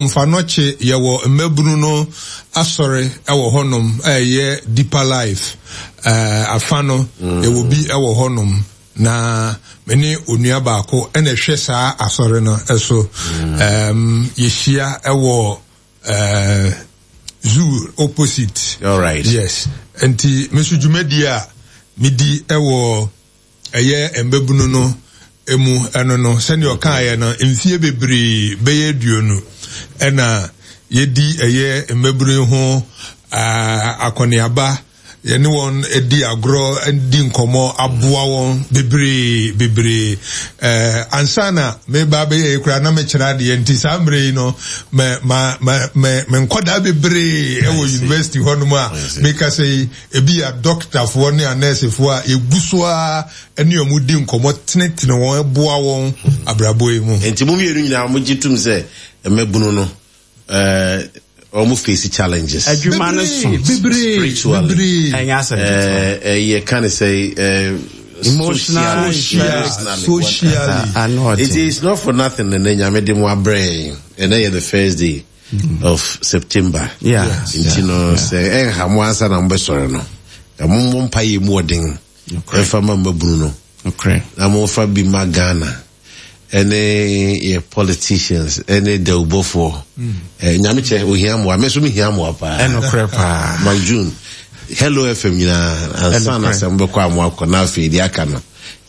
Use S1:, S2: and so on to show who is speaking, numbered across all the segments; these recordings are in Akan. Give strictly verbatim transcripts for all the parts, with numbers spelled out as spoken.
S1: Mfanɔkye yɛwɔ mmabunu no asɔre wɔ hɔnom a ɛyɛ Deeper Life eh, afa no mm. yɛwɔ bi wɔ hɔnom na me ne onua baako ɛna ɛhwɛ saa asɔre no so. mm. um, yɛhyia wɔ uh, zoo opposite.
S2: All right.
S1: Yes, nti me nso dwumadie a medi wɔ ɛyɛ mmabunu no mu ɛno no, sɛnea ɔkaeɛ no, mfie bebree bɛyɛ aduonu ɛna yɛdi ɛyɛ mmabunu ho akɔneaba, yɛne wɔn di agorɔ, di nkɔmmɔ, aboa wɔn bebree bebree. ɛɛ ansa na meba abɛyɛ yi koraa na mekyerɛ adeɛ, nti saa mmerɛ yi no mɛ ma ma mɛ me nkɔdaa bebree ɛwɔ university hɔnom a meka sɛ yi ebi yɛ dɔktafoɔ ne anɛɛsefoɔ a yɛgu so ara ne wɔn di nkɔmmɔ, tenetene wɔn, boa wɔn abrabɔ yi mu.
S2: Nti mo mmienu nyinaa mo gye tum sɛ mmabunu no ɛɛ wɔn face challenges.
S3: Adwuma no so.
S1: Bebree.
S2: Spiritually.
S1: Bebree.
S3: Ɛnyɛ asɛm ketewa.
S2: Ɛɛ ɛyɛ ka ne sɛ ɛɛ
S3: emotional,
S2: socially,
S1: socially.
S3: Ano
S2: It
S3: ɔden.
S2: is not for nothing na Nyame de mo abrɛ yɛn. Ɛnɛ yɛ the first day of September.
S3: Yeah.
S2: Nti no sɛ ɛnha mo ansa na mobɛsɔre no, mommɔ mpaeɛ mu ɔden ɛmfa ma mmabunu no
S3: Nokorɛ.
S2: na momfa bi ma Ghana ɛne yɛ politicians ɛne dawubɔfoɔ. Eh, Nyame kyɛ ohia mmoa, me nso mehia mmoa paa.
S3: Ɛnokorɛ paa.
S2: Mark June, Hello F M nyinaa ansa na
S3: Ɛnokorɛ.
S2: sɛ mobɛkɔ a moakɔ na afei deɛ aka no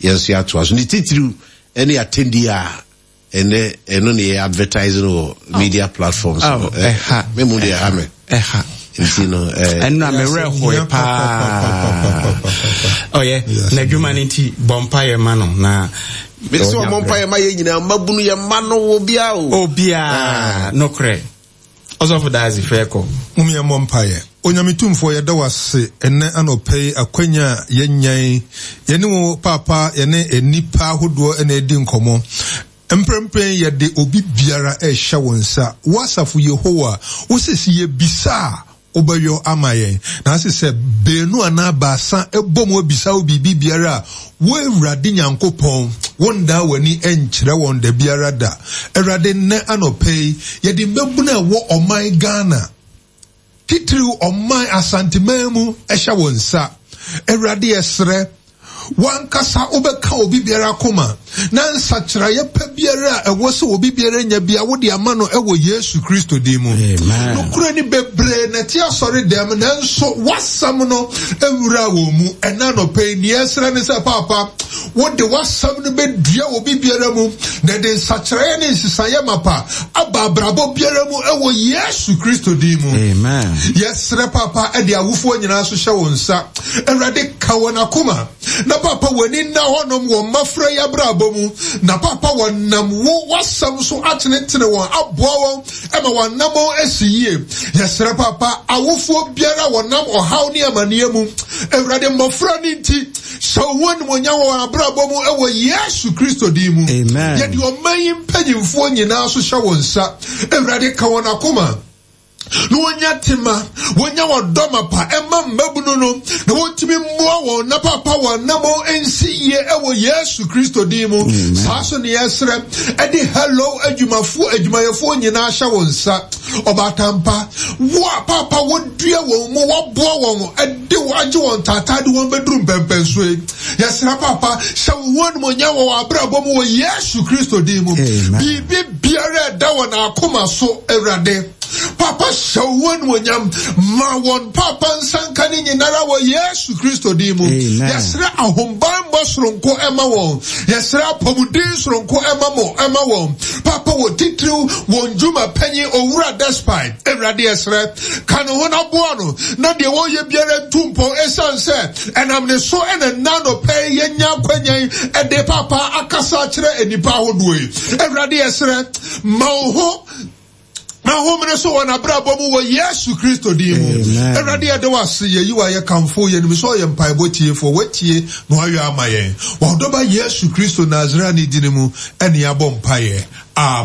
S2: yɛn nso yɛatoa so. Ne titiriw ɛne atɛndi a ɛnɛ ɛno ne yɛ advertising wɔ media platforms
S3: Oh,
S2: no. Eh,
S3: ɛha.
S2: Me mu deɛ ɛha me.
S3: Ɛha.
S2: Nti no eh,
S3: Ɛno a mewerɛ hoe paa. Ɔyɛ n'adwuma no nti bɔ mpaeɛ ma no na
S2: mese ɔmɔ mpaeɛ ma yɛ nyinaa, mmabunu yɛ mma no wɔ biaa o.
S3: Obiaa nokorɛ. Ɔsɔfo Daase fɛ kɔ.
S1: Mom yɛmmɔ mpaeɛ. Onyame tumfoɔ, yɛda wo ase ɛnnɛ anɔpa yi akwanya a yɛnyan yɛne wo paapa, yɛne nnipa ahodoɔ ɛna ɛdi nkɔmmɔ. Mprempren yɛde obi biara ɛhyɛ wo nsa. Wo asafo Yehowa, wo sisi yɛbisa a wobɛyɔ ama yɛn. Na ase sɛ beenu anaa baasa ɛbɔ mu abisa wo biribi biara a, wo Awurade Nyankopɔn, wondaa w'ani nkyerɛ wɔn da biara da. Awurade, nnɛ anɔpa yi, yɛde mmabunu a ɛwɔ ɔman Ghana, titiriw ɔman Asanteman mu ɛhyɛ wo nsa. Awurade, yɛsrɛ wankasa wobɛka obi biara koma na nsakyerɛeɛ pa biara a ɛwɔ sɛ obi biara nya bia wode ama no ɛwɔ Yesu Kristo din mu.
S3: Amen.
S1: Nokorɛ ni bebree na ɛte asɔre dɛm, nanso w'asɛm no nwura wɔn mu. Ɛna anɔpa yi nea ɛsrɛ ne sɛ paapa wode w'asɛm no bɛdua obi biara mu na ɛde nsakyerɛeɛ ne nsesaeɛ mapa aba abrabɔ biara mu ɛwɔ Yesu Kristo din mu.
S3: Amen.
S1: Yɛsrɛ papa ɛde awofoɔ nyinaa so hyɛ wɔn nsa. Awurade, ka wɔn akoma na papa w'ani nna hɔnom wɔ mmɔfra yi abrabɔ mu, na papa wɔnam wo w'asɛm so atenetene wɔn, aboa wɔn ɛma wɔn anammɔn asi yie. Yɛsrɛ papa awofoɔ biara wɔnam ɔhaw ne amanneɛ mu, Awurade, mmɔfra no nti hyɛ wo ho animuonyam wɔ wɔn abrabɔ mu ɛwɔ Yesu Kristo din mu.
S3: Amen.
S1: Yɛde ɔman yi mpanyimfoɔ nyinaa so hyɛ wɔn nsa. Awurade, ka wɔn akoma na wɔnya tema, wɔnya wɔdɔ mapa ɛma mmabunu no na wɔntumi mmoa wɔn na papa wɔn anammɔn nsi yie ɛwɔ Yesu Kristo din mu. Saa so ne yɛsrɛ ɛde Hello adwumafoɔ adwumayɛfoɔ nyinaa hyɛ wɔn nsa. Ɔbaatampa, wo a papa wɔdua wɔn mu, wɔboa wɔn, ɛde wɔn agye wɔn taataa de wɔn bɛduru mpɛmpɛnsoɔ yi, yɛsrɛ papa hyɛ wo ho animuonyam wɔ wɔn abrabɔ mu wɔ Yesu Kristo din mu.
S3: Amen.
S1: Biribi biara ɛda wɔn akoma so, Awurade papa hyɛ wo ho animuonyam ma wɔn papa nsanka ne nyinara wɔ Yesu Kristo din mu.
S3: Amen.
S1: Yɛsrɛ ahobanbɔ soronko ɛma wɔn, yɛsrɛ apɔmuden soronko ɛma mo ɛma wɔn papa wɔ titiriw wɔn dwuma panyin Owura Despite. Awurade, yɛsrɛ ka ne ho na boa no na deɛ wɔyɛ biara ntu mpɔn, ɛsiane sɛ ɛnam ne so ɛna nna anɔpa yi yɛnya akwanyan ɛde papa akasa akyerɛ nnipa ahodoɔ yi. Awurade, yɛsrɛ ma wo ho na homene so wɔ n'abrabɔ mu wɔ Yesu Kristo din mu.
S3: Amen.
S1: Awurade, yɛde wo ase, yɛyi wo ayɛ, kamfo yɛnim sɛ ɔyɛ mpaebɔ tiefoɔ, watie na wayɔ ama yɛn. Wɔdɔba Yesu Kristo Nasareni din mu ɛne yɛabɔ mpaeɛ. Amen.